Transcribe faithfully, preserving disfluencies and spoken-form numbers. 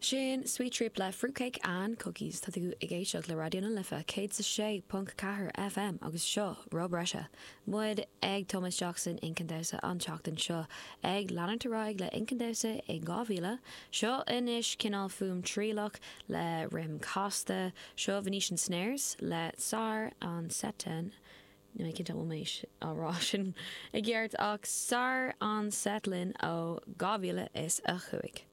Sin Sweet Trip le Fruitcake and Cookies tá tú ag éisteacht le Raidió na Life céad a sé ponc ceathair FM agus seo Rob Breise. Muid ag Thomas Jackson inchinn damhsa an tseachtain seo ag leanúint ar aghaidh le inchinn damhsa i dhá mhíle, seo anois cineál fuaim trialach le rithim casta seo Venetian Snares le Saar an Setan. Ní mé cinnte méis á rá sin i gceart ach Saar an Setlin ó dhá mhíle is a cúig.